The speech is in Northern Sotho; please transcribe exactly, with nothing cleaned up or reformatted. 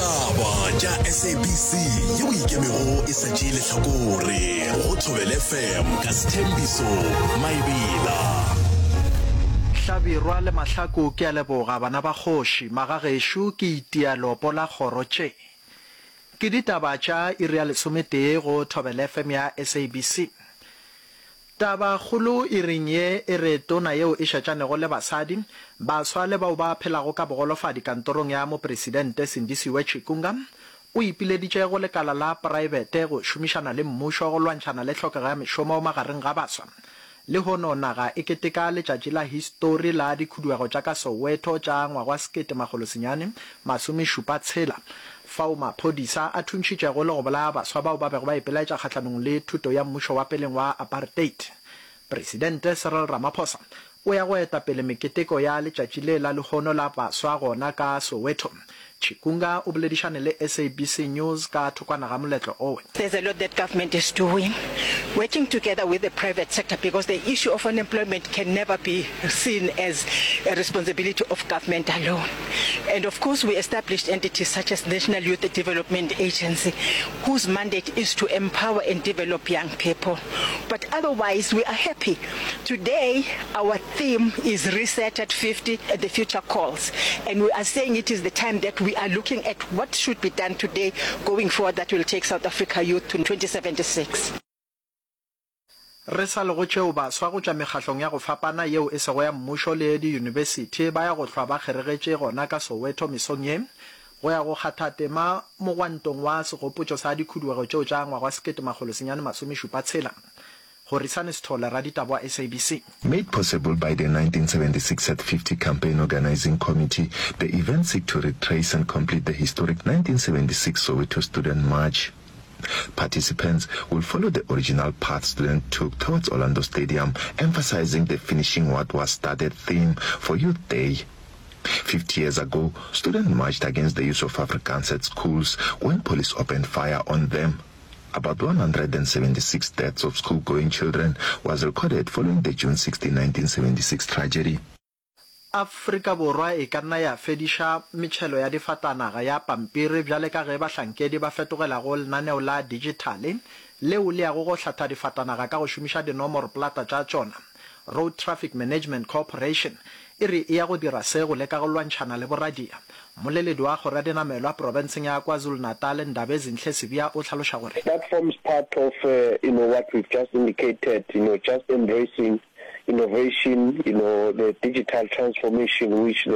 Ditaba tša SABC yeo e ikemego e sa tšee lehlakore go Thobela FM ka Sthembiso Maebela. Hlabirwa le Mahlaku ke a leboga bana ba kgoši magagešo ke itia leopo la kgoro tše ke ditaba tša iri ya lesometee go Thobela FM ya SABC Tabakgolo iring ye e re tona yeo e šetšanego le basadi, baswa le bao ba phelago ka bogolofadi kantorong ya Mopresidente Sindisiwe Chikunga o ipileditše go lekala la praebete go šomišana le mmušo go lwantšhana le tlhokego ya mešomo magareng ga baswa. Lehono naga e keteka letšatši la histori la dikhuduego tša ka Soweto tša ngwaga wa sekete makgolo senyane masome šupa tshela fao maphodisa a thuntšhitšego le go bolaya baswa bao ba bego ba ipelaetša kgahlanong le thuto ya mmušo wa peleng wa apartheid. Presidente Cyril Ramaphosa o ya go eta pele meketeko ya letšatši le la lehono la baswa gona ka Soweto. Chikunga o boledišane le SABC News ka thokwana ga moletlo owe. There's a lot that government is doing, working together with the private sector because the issue of unemployment can never be seen as a responsibility of government alone. And of course, we established entities such as National Youth Development Agency, whose mandate is to empower and develop young people. But otherwise, we are happy. Today, our theme is Reset at fifty, the future calls. And we are saying it is the time that we are looking at what should be done today going forward that will take South Africa youth to twenty seventy-six. Re sa le go tšeo, baswa go tšwa mekgahlong ya go fapana yeo e sego ya mmušo le diyunibesithi ba ya go hlwa ba kgeregetše gona ka Soweto mesong ye go ya go kgatha tema mogwantong wa segopotšo sa dikhuduego tšeo tša ngwaga wa sekete makgolo senyane masome šupa tshela. Horisani Sithole, raditaba wa SABC. Made possible by the nineteen seventy-six at fifty Campaign Organising Committee, the event seek to retrace and complete the historic nineteen seventy-six Soweto Student March. Participants will follow the original path students took towards Orlando Stadium, emphasizing the finishing what was started theme for Youth Day. fifty years ago, students marched against the use of Afrikaans at schools when police opened fire on them. About one hundred and seventy-six deaths of school-going children was recorded following the June sixteen, nineteen seventy-six tragedy. Afrika Borwa e ka nna ya fediša metšhelo ya difatanaga ya pampiri bjale ka ge bahlankedi ba fetogela go lenaneo la dijithale leo le yago go hlatha difatanaga ka go šomiša dinomoroplata tša tšona. Road Traffic Management Corporation e re e ya go dira se go leka go lwantšhana le boradia. Mmoleledi wa kgoro ya dinamelwa profenseng ya KwaZulu-Natal, Ndabezinhle Sibiya o hlaloša gore. That forms part of, you know, what we've just indicated, you know, just embracing innovation, you know, the digital transformation which the